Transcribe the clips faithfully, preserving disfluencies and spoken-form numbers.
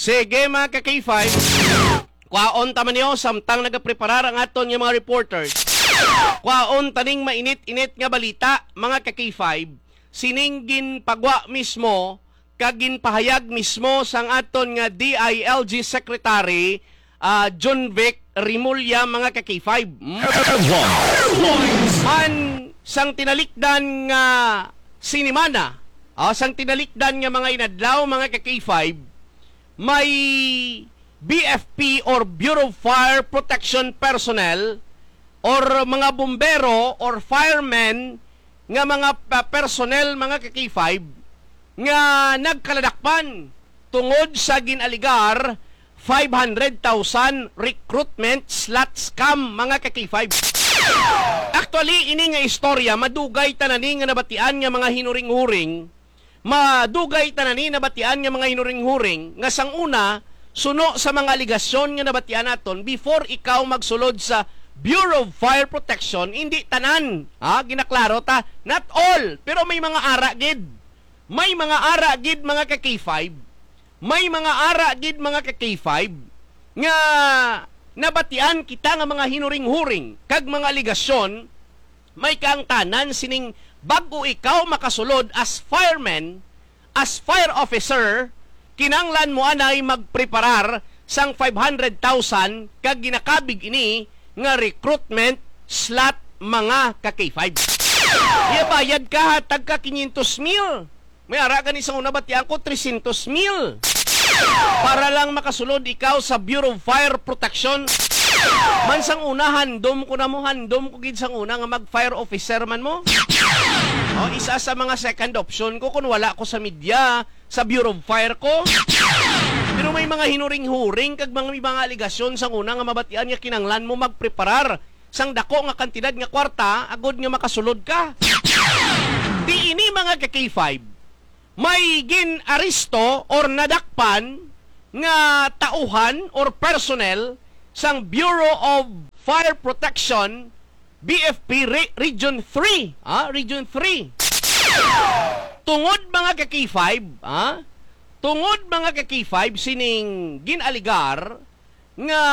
Sige, mga ka-K five. Kwaon ta man niyo, samtang nagapreparar ang aton nga mga reporters. Kwaon taning mainit-init nga balita, mga ka-K five. Sining ginpagwa mismo kag ginpahayag mismo sang aton nga D I L G Secretary, ah, John Vic Remulla, mga ka-K five. Hmm? Headlines. Man sang tinalikdan nga sinimana, ah, sang tinalikdan nga mga inadlaw, mga ka-K five, may B F P or Bureau of Fire Protection personnel or mga bumbero or firemen nga mga pa-, personnel, mga ka-K five, nga nagkaladakpan tungod sa ginaligar five hundred thousand recruitment slot scam, mga ka-K five. Actually, ini nga istorya, madugay ta na ni nga nabatian nga mga hinuring-huring, madugay ta na ni nabatian nga mga hinuring-huring nga sang una, suno sa mga aligasyon nga nabatian naton, before ikaw magsulod sa Bureau of Fire Protection, hindi tanan, ha, ginaklaro ta, not all, pero may mga ara gid. May mga ara gid, mga ka-K five. May mga ara gid, mga ka-K five, nga nabatian kita nga mga hinuring-huring kag mga aligasyon, may kaangtanan sining bag-o ikaw makasulod as fireman, as fire officer, kinanglan mo anay magpreparar sang five hundred thousand kag ginakabig ini nga recruitment slot, mga ka-K five. Iya bayad ka, hatag ka quinientos mil. May ara gani sang una batian ko, trescientos mil. Para lang makasulod ikaw sa Bureau of Fire Protection. Man sang una, handom ko na mo, handom ko gid sang una nga mag-fire officer man mo. O, isa sa mga second option ko kung wala ko sa media, sa Bureau of Fire ko. Pero may mga hinuring-huring kag mga, may mga aligasyon sang una nga mabatian nga kinanglan mo magpreparar sang dako nga kantidad nga kwarta agod nga makasulod ka. Di ini, mga ka-K five, may gin-aresto or nadakpan nga tauhan or personnel sang Bureau of Fire Protection, B F P Re-, Region three, ah, Region three. Tungod, mga ka-K five, ah, tungod, mga ka-K five, sining gin-aligar nga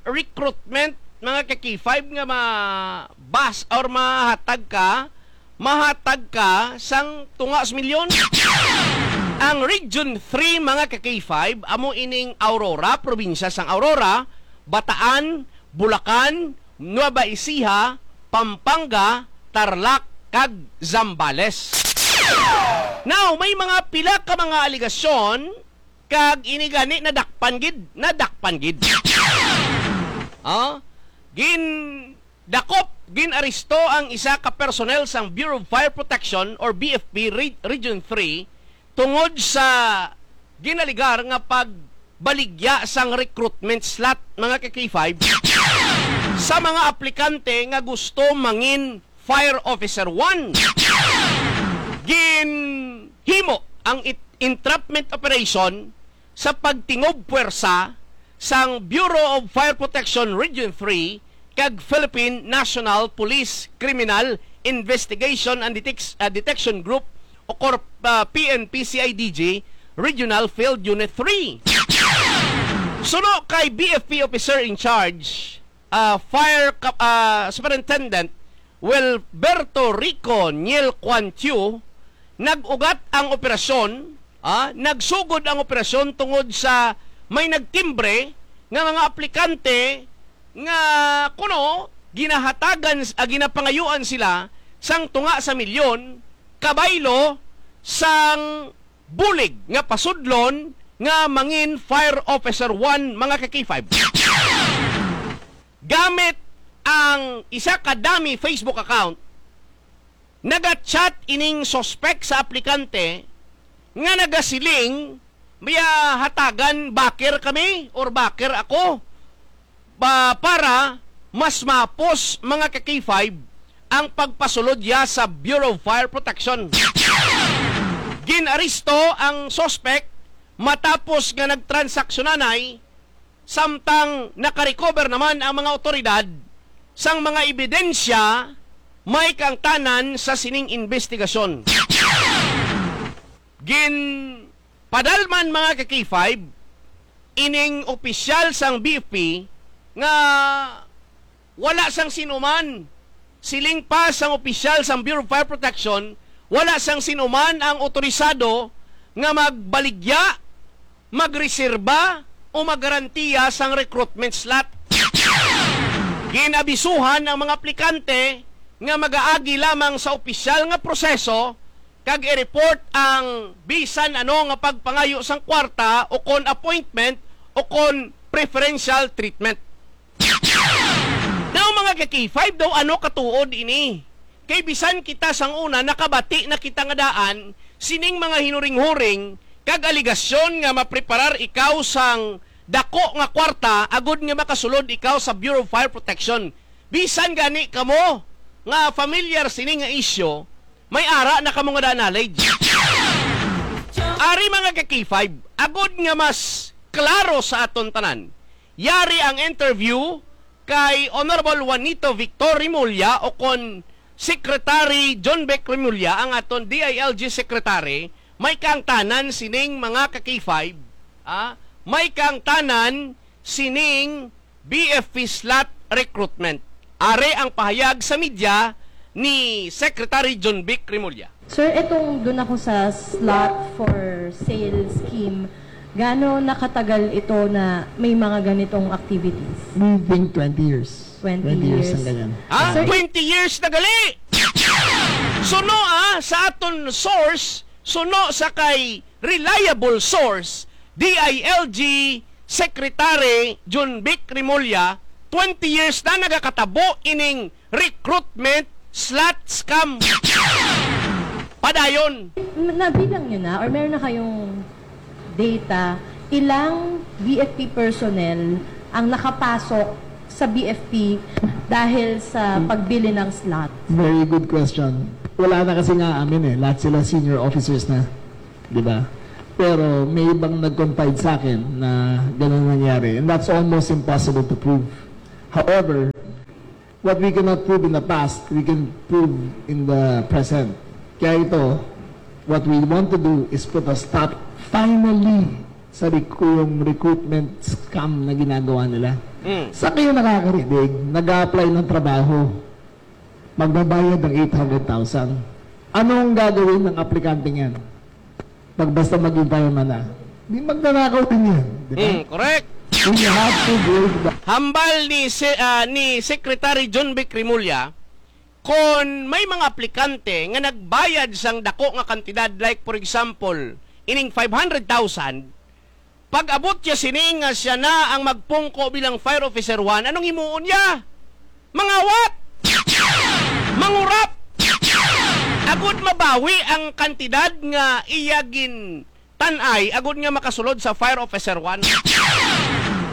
recruitment, mga ka-K five, nga ma-, bas or mahatag ka, mahatag ka sang tunga sa milyon. Ang Region three, mga ka-K five, amo ining Aurora, probinsya sang Aurora, Bataan, Bulacan, Nueva Ecija, Pampanga, Tarlac, kag Zambales. Now, may mga pila ka mga aligasyon, kag ini gani nadakpan gid, nadakpan gid. Ah, gindakop, gin-aresto ang isa ka personnel sang Bureau of Fire Protection or B F P Re-, Region three tungod sa ginaligar nga pagbaligya sang recruitment slot, mga ka-K five, sa mga aplikante nga gusto mangin Fire Officer one. Ginhimo ang it-, entrapment operation sa pagtingob puwersa sang Bureau of Fire Protection Region three kag Philippine National Police Criminal Investigation and Detec-, ah, Detection Group o kor-, ah, P N P C I D G Regional Field Unit three. Suno kay B F P Officer in Charge, ah, Fire Cap-, ah, Superintendent Wilberto Rico Niel Quantiu, nag-ugat ang operasyon, ah, nagsugod ang operasyon tungod sa may nagtimbre nga mga aplikante nga kuno ginahatagan, ah, ginapangayuan sila sang tunga sa milyon kabaylo sang bulig nga pasudlon nga mangin Fire Officer one, mga ka-K five. Gamit ang isa ka dummy Facebook account, naga-chat ining suspek sa aplikante nga nagasiling, "Maya hatagan, backer kami or backer ako." Pa-, para mas mapos, mga ka-K five, ang pagpasulod niya sa Bureau of Fire Protection. Gin-aresto ang suspek matapos nga nagtransaksyon anay, samtang nakarecover naman ang mga otoridad sang mga ebidensya may kaangtanan sa sining investigasyon. Ginpadalman, mga ka-K five, ining opisyal sang B F P nga wala sang sinuman. Siling pa sang opisyal sang Bureau of Fire Protection, wala sang sinuman ang otorisado nga magbaligya, magreserba, o maggarantiya sang recruitment slot. Gin-abisuhan ang mga aplikante nga magaagi lamang sa opisyal nga proseso kag i-report ang bisan ano nga pagpangayo sang kwarta o kon appointment o kon preferential treatment. Now, mga ka-K five, daw ano katuod ini? Kay bisan kita sang una nakabati na kita nga daan sining mga hinuring-huring kag aligasyon nga mapreparar ikaw sang dako nga kwarta agud nga makasulod ikaw sa Bureau of Fire Protection. Bisan gani kamo nga familiar sini nga isyu, may ara na kamo nga daan knowledge. Ari, mga ka-K five, agud nga mas klaro sa aton tanan, yari ang interview kay Honorable Juanito Victor Remulla, o kon Secretary John Vic Remulla, ang aton D I L G Secretary. May kaangtanan sining, mga ka-K five, ah, may kaangtanan sining B F P slot recruitment. Are ang pahayag sa media ni Secretary John Vic Remulla. Sir, itong doon ako sa slot for sale scheme, gaano nakatagal ito na may mga ganitong activities? We think twenty years. Twenty Twenty years years. Ang ganyan. Ah, Sir, twenty years na gali! Suno, ah, sa aton source, suno sa kay reliable source, D I L G Secretary John Vic Remulla, twenty years na nagakatabo ining recruitment slot scam. Padayon. Nabilang nyo na or meron na kayong data, ilang B F P personnel ang nakapasok sa B F P dahil sa pagbili ng slot? Very good question. Wala na kasi nga amin eh. Lahat sila senior officers na. Di ba? Pero may ibang nag-confide sa akin na ganun nangyari. And that's almost impossible to prove. However, what we cannot prove in the past, we can prove in the present. Kaya ito, what we want to do is put a stop finally sa rec- yung recruitment scam na ginagawa nila. Mm. Sa kayo nakakarinig, nag-a-apply ng trabaho, magbabayad ng eight hundred thousand. Anong gagawin ng aplikante niyan? Pag basta maging fireman na, di magnanakaw din yan, di ba? Mm, correct. We have to break the Hambal ni se-, ah, ni Secretary John Vic Remulla, kon may mga aplikante nga nagbayad sang dako nga kantidad, like, for example, ining five hundred thousand, pag-abot niya sini nga siya na ang magpungko bilang fire officer one, anong himuon niya? Mangawat! Mangurap! Agud mabawi ang kantidad nga iya gintan-ay, agud nga makasulod sa fire officer one.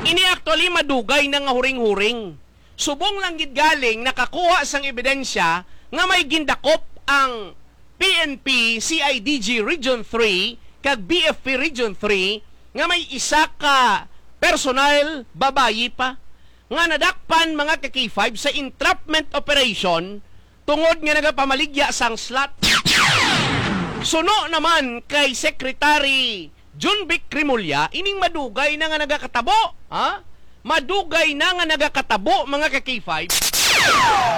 Ini actually madugay na nga huring-huring. Subong lang gid galing nakakuha sang ebidensya nga may gindakop ang P N P C I D G Region three kag B F P Region three nga may isa ka personal, babayi pa, nga nadakpan, mga ka-K five, sa entrapment operation tungod nga nagapamaligya sang slot. Suno naman kay Secretary John Vic Remulla, ining madugay na nga nagakatabo, ha? Madugay na nga nagakatabo, mga ka-K five.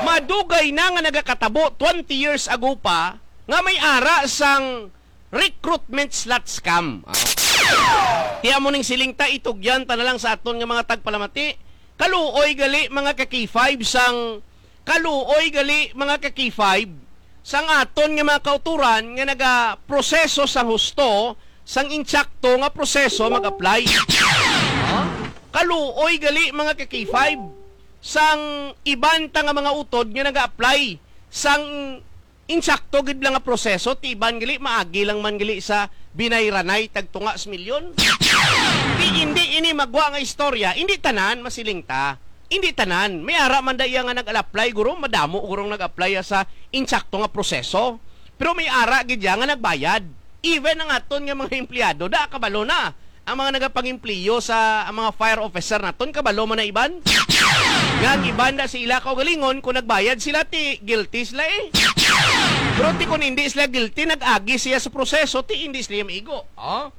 Madugay na nga nagakatabo, twenty years ago pa, nga may ara sang recruitment slot scam. Ah. Ti amo ning siling ta, itugyan ta na lang sa aton nga mga tagpalamati. Kaluoy gali, mga ka-K five, sang, kaluoy gali, mga ka-K five, sang aton nga mga kauturan nga nagaproseso sang husto, sang insakto nga proseso mag-apply. Ah? Kaluoy gali, mga ka-K five, sang iban ta nga mga utod nga naga-apply sang insakto gid lang nga proseso, ti iban gali, maagi lang man gali sa binayranay tagtunga sa milyon. Ti indi ini magwa nga istorya, indi tanan, masiling ta. Indi tanan. May ara man da iya nga nag-apply, guro, madamo gurong nag-apply sa insakto nga proseso. Pero may ara gid iya nga nagbayad. Even ang aton nga mga empleyado, da kabalo na. Ang mga nagapangempleyo sa, ang mga fire officer naton, kabalo man na iban. Nga ang iban na sa ila kaugalingon, kung nagbayad sila, ti guilty sila eh. Pero ti kung hindi sila guilty, nag-agi siya sa proseso, ti hindi sila maigo. Oh?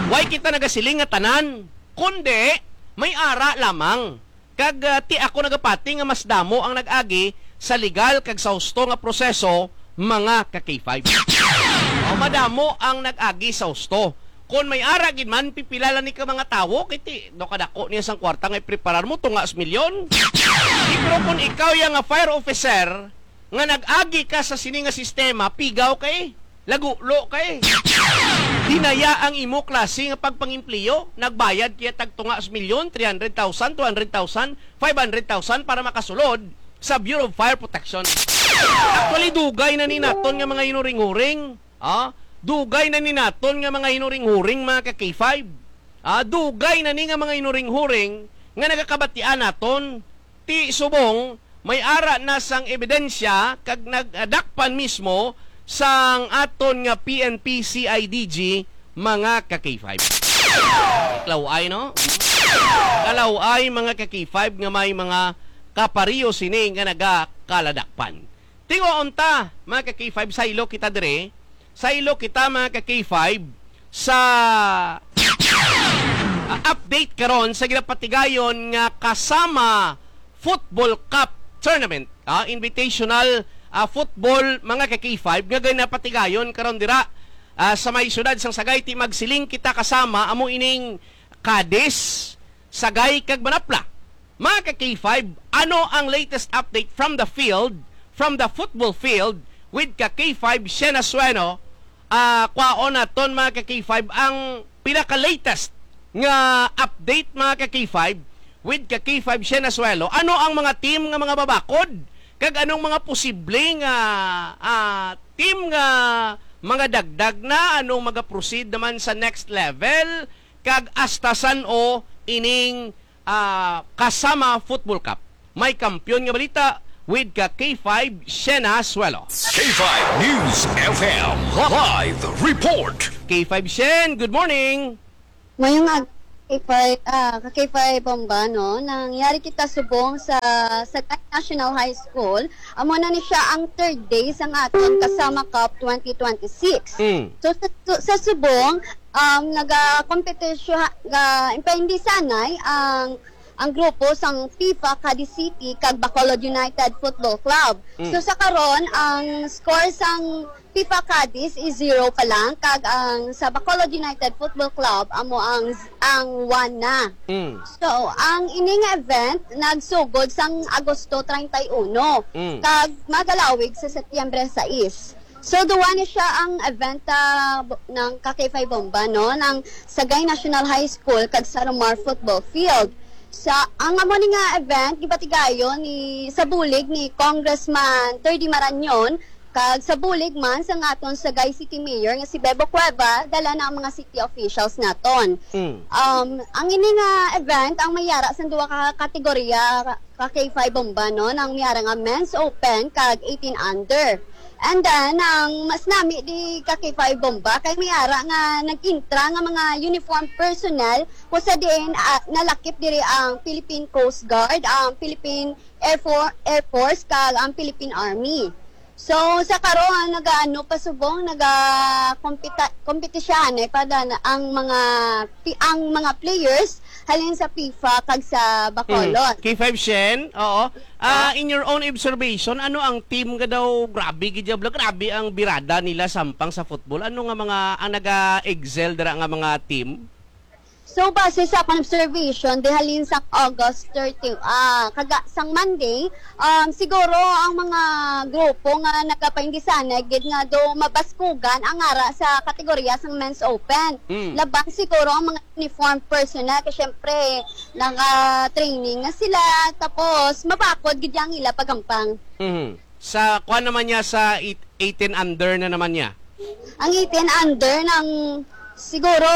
Way kita nagasiling nga tanan, kundi may ara lamang. Kag, ah, ti ako nagapati nga mas damo ang nag-agi sa legal kag sa husto nga proseso, mga ka-K five. O, madamo ang nag-agi sa husto. Kon may ara gid man, pipila lang ni ka mga tawo, kay ti, do kadako niya sang kwarta nga ipreparar mo, tunga sa milyon. Di, pero kung ikaw ya nga fire officer, nga nag-agi ka sa sini nga sistema, pigaw kay, lagulo kay. Dinaya ang imo klase nga pagpangempleyo, nagbayad kaya tag tunga sa milyon, three hundred thousand, two hundred thousand, five hundred thousand para makasulod sa Bureau of Fire Protection. Actually, dugay na ni naton nga mga hinuring-huring. Ah, dugay na ni naton nga mga hinuring-huring, mga ka-K five. Ah, dugay na ni nga mga hinuring-huring nga nagakabatian naton. Ti subong, may ara na sang ebidensya kag nagdakpan mismo sang aton nga P N P C I D G, mga ka-K five. Kalaway, no? Kalaway, mga ka-K five, nga may mga kapariyo sini nga nagakaladakpan. Tinguha unta, mga ka-K five, saylo kita dire. Saylo kita, mga ka-K five, sa, ah, update karon sa ginapatigayon nga Kasama Football Cup Tournament, ah, Invitational, ah, Football, mga ka-K five, nga ginapatigayon karon dira, ah, sa may siyudad sang Sagayti. Magsiling kita kasama, amo ining Cadiz, Sagay kag Manapla. Mga ka-K five, ano ang latest update from the field, from the football field, with ka-K five Shena Sueno? Ah, kwaon naton, mga ka-K five, ang pinaka-latest nga update, mga ka-K five, with ka-K five Shena Suelo. Ano ang mga team nga mga babakod? Kag anong mga posible nga, ah, team nga mga dagdag na? Anong mga proceed naman sa next level? Kag hasta san-o ining, ah, Kasama Football Cup? May kampiyon nga balita with ka K five Shena Suelo. K five News F M live report. K five Shen, good morning. Mayong ag-, K five, ah, ka K five Bomba, no? Nangyari kita subong sa Sagay National High School. Amo na ni siya ang third day sang aton Kasama Cup twenty twenty-six. Mm. So, sa, sa, sa subong, um, naga-competition, ga, impaindisanay ang, ang grupo sang FIFA Cadiz City kag Bacolod United Football Club. Mm. So, sa karon, ang score sang FIFA Cadiz is zero pa lang, kag ang sa Bacolod United Football Club amo ang, ang one na. Mm. So, ang ini nga event nagsugod sang Agosto treinta y uno, Mm. kag magalawig sa Setyembre sais. So, duwa ni siya ang event, ah, bo-, ng ka K five Bomba, no, ng Sagay National High School kag sa Romar Football Field. Sa, ang amo ni nga event, gipatigayon ni, sa bulig ni Congressman Terdy Marañon, kag sa bulig man sa aton Sagay City Mayor nga si Bebo Cueva, dala na ang mga city officials naton. Mm. Um, ang ini nga event ang may ara sang duha ka kategorya, ka K five Bomba, no, nang may ara nga men's open kag eighteen under. And then, ang mas nami di ka K five Bomba kay may ara nga nag-intra nga mga uniform personnel, kung sa diin, ah, nalakip diri ang Philippine Coast Guard, ang Philippine Air For-, Air Force, kag ang Philippine Army. So, sa karon, nagaano pa subong, naga-kompita-, kompetisyahan, eh, pa dan-, ang mga pi-, ang mga players halin sa FIFA kag sa Bacolod. Mm. K five Shen, oo. Ah, Ah. In your own observation, ano ang team nga daw grabe gid, grabe ang birada nila sampang sa football? Ano nga mga ang naga-excel dira nga mga team? So, base sa akong observation, di halin sang August thirty, ah, kaga-, sang Monday, um, siguro ang mga grupo nga nagapaindisanay gid nga do mabaskugan ang ara sa kategorya sang Men's Open. Mm. Laban siguro ang mga uniform personnel, kay syempre, naka-training na sila, tapos mabakod gid ang ila pagampang. Mhm. Sa, kuwan naman niya, sa eight-, eighteen under na naman niya. Ang eighteen under ng, siguro,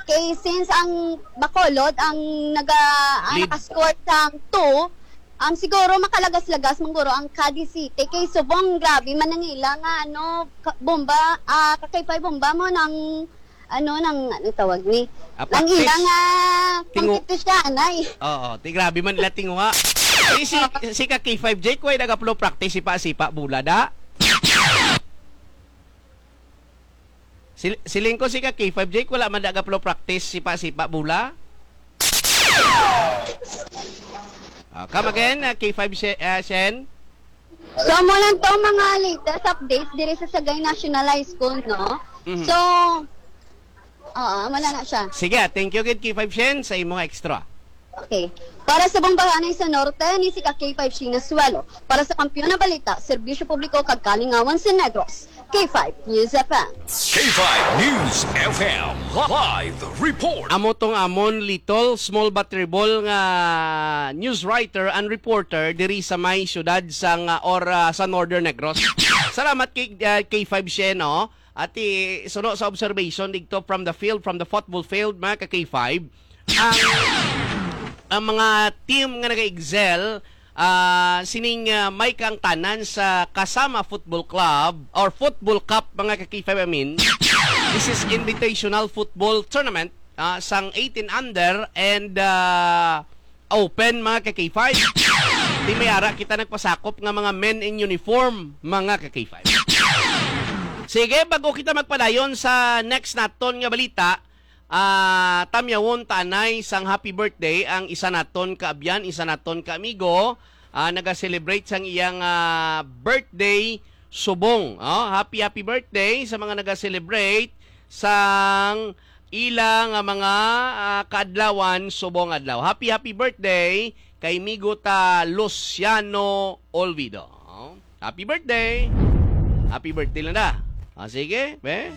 kay since ang Bacolod ang naga-, ang Lead. Nakascore sang two, um, siguro makalagas-lagas man guro ang Cadiz City. Kay subong grabe man ang ila nga, ano, ka-, bomba, ah, ka K five Bomba mo ng, ano, ng, ano tawag ni? Ah, Ang practice. Ila nga Tingu- competition, ay. Oo, ti grabe man ila tinguha. Si, si, si ka K five Jake, way nagaplo practice, sipa-sipa, bula da. Sil-, siling ko si ka K five Jake, wala man daga pro practice, sipa-sipa, bola. Ah, come again, ah, K five She-, ah, Shen? So, mo lang to mga latest updates diri sa Sagay National High School, no? Mhm. So, oo, wala na siya. Sige, ah, thank you gid, K five Shen, sa imo nga extra. Okay. Para sa Bambahanay sa Norte, ni si ka K five Shen Nasuelo. Para sa Kampiyon na Balita, Serbisyo Publiko kag Kalingawan sa Negros, K five News F M. K five News F M live report. Amo tong amon little, small but terrible nga news writer and reporter diri sa may siyudad sang, ah, or, ah, sa Northern Negros. Salamat kay, ah, K five Shen, no? At i-, suno sa observation dito from the field, from the football field, mga ka K five, ang, ang mga team nga nag-excel, ah, sining, ah, may kaangtanan sa Kasama Football Club or Football Cup, mga ka K five, I mean. This is Invitational Football Tournament, ah, sang eighteen under and, ah, open, mga ka K five. Di may ara kita nagpasakop nga mga men in uniform, mga ka K five. Sige, bago kita magpadayon sa next naton nga balita, ah, tamyawon ta anay sang happy birthday ang isa naton ka abyan, isa naton ka amigo, ah, naga-celebrate sang iyang, ah, birthday subong. Oh, happy, happy birthday sa mga naga-celebrate sang ila nga mga, ah, kaadlawan subong adlaw. Happy, happy birthday kay migo ta Luciano Olvido. Oh, happy birthday. Happy birthday lang na. Ah, sige, be.